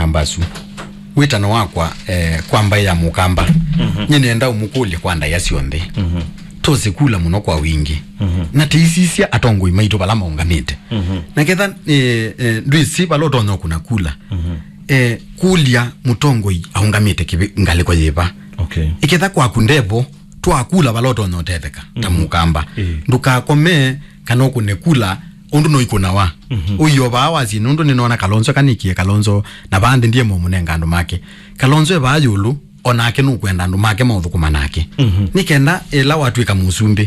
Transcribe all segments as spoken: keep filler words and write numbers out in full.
Mbasu. Wĩtano wakwa, eh, kwa mbaĩ ya Mũkamba. Nyie nĩenda ũmũkũlye kwa ndaĩa syonthe. Tũsĩ kula mũno kwa wingĩ. Na tĩisisya atongoi maitũ vala maũngamĩte. Na ketha, eh, eh, ndwĩsĩ vala ũtonya ũkũna kula. Eh, kũlya mũtongoi aũngamĩte kĩvĩ-, ngalĩko yĩva. Okay. Ĩketha kwaku ndevo, twakula vala ũtonya ũtetheka ta Mũkamba. Ndũkakome kana ũkũne kula ũndũ noikũnawa. Ũio vaa wasie nũndũ nĩnona Kalonzo kanikie Kalonzo na vaa nthĩ ndiye mũmũnenga andũ make. Kalonzo e vaa yũlũ, onake nũkwenda andũ make maũthũkũma nake. Nĩ kenda ĩla watw'ĩka mũsumbĩ,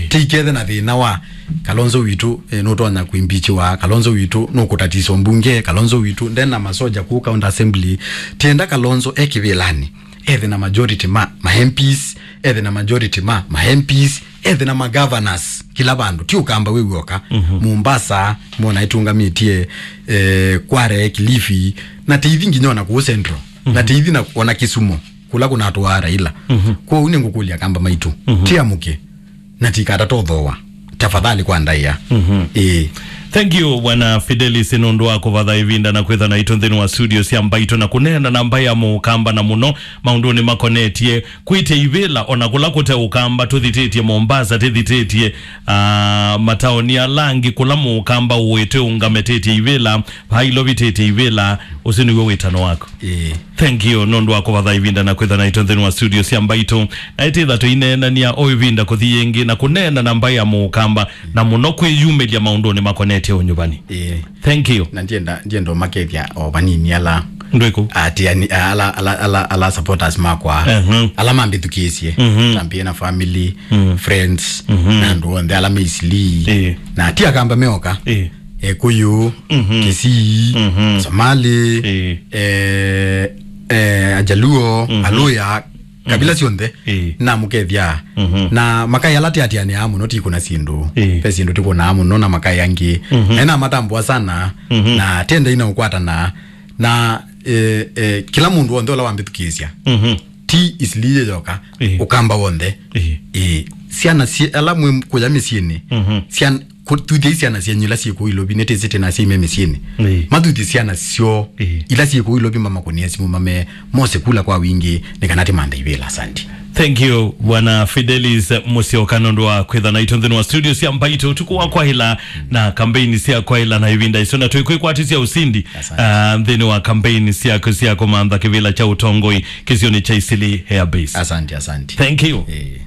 tikethe na thĩna wa Kalonzo witũ, eh, nũtonya kũimbichiwa, Kalonzo witũ nũkũtatiswa mbunge, Kalonzo witũ ndena masoja kũu county assembly. Tienda Kalonzo e kĩvĩlanĩ, ethe na majority ma, ma M Ps, ethe na majority ma, ma M Ps, ethe na ma governors, kila vandu, ti Ũkamba wĩ w'oka. Mombasa, mona ĩtũngamĩtie, eh, Kware, Kilifi, na tĩithi nginya ona kũu Central, na tĩithi na ona Kisumu, kula kũnatũaa Raila. Kwoou nĩngũkũlya Akamba maitũ, tiamũke, na tikata tũthooa. Tafadhali kwa ndaĩa. Ĩĩ. Thank you, Bwana Fidelis, nũndũ wa kũvatha ĩvinda na kwĩtha naitũ nthĩnĩ wa studio sya Mbaitũ na kũneena na mbaĩ ya Mũkamba na mũno maũndũnĩ makonetye kwĩtya ivĩla, ona kũla kũte Ũkamba tũthitĩtye Mombasa, tĩthitĩtye, ah, mataoni ala angĩ kũla Mũkamba ũĩte ũngametĩtye ivĩla, vaa Ilovi tĩtye ivĩla, ũsu nĩw'o wĩtano waku. Ĩĩ. Thank you nũndũ wa kũvatha ĩvinda na kwĩtha naitũ nthĩnĩ wa studio sya Mbaitũ. Na ĩtĩtha tũineenania o ĩvinda kũthi yĩngĩ na kũneena na mbaĩ ya Mũkamba na mũno kwĩyumĩlya maũndũnĩ makonetye ũnyuvani. Ĩĩ. Thank you. Na ndienda, ndienda ũmakethya o vanini ala Ndwĩkũ? Atiani, ala, ala, ala, ala supporters makwa. Ala mambĩthukĩĩsye. Champion family, friends, na andũ onthe ala me Eastleigh. Ĩĩ. Na ti Akamba meoka. Ĩĩ. Ekũyũ, Kisii, Somali, Ĩĩ. eh, eh, Ajaluo, Aluya, kabila syonthe, Ĩĩ. Namũkethya. Na makaĩ ala tiatianĩaa mũno tikũna syĩndũ. Ĩĩ. Ve syĩndũ tikũnaa mũno na makaĩ angĩ. Na namatambũa sana, na tendai na ũkwatana. Na, eh, eh, kila mũndũ wonthe ũla wambĩthukĩĩsya. Ti Eastleigh yoka, Ĩĩ. Ũkamba wonthe. Ĩĩ. Ĩĩ. Syana syĩ-, ala mwĩ kũya mĩsyĩnĩ. Syana, kũthuthya syana syenyu ila syĩ kũu Ilovi, nĩtĩsĩ tena syĩ me mĩsyĩnĩ. Ĩĩ. Mathuthye syana syoo, Ĩĩ. Ila syĩ kũu Ilovi mamakũnĩe simũ mame, mose kula kwa wingĩ, nĩ kana tĩmanthe ivĩla. Asante. Thank you, Bwana Fidelis Musyoka, nũndũ wa kwĩtha naitũ nthĩnĩ wa studio sya Mbaitũ ũtukũ wa kwaĩla na kambeini sya kwaĩla na ĩvinda ĩsu, na twĩkwĩkwatĩsya ũsindi, Asante. Ah, nthĩnĩ wa kambeini syaku sya kũmantha kĩvĩla kya ũtongoi kĩsionĩ kya Eastleigh Air Base. Asante, asante. Thank you. Eh.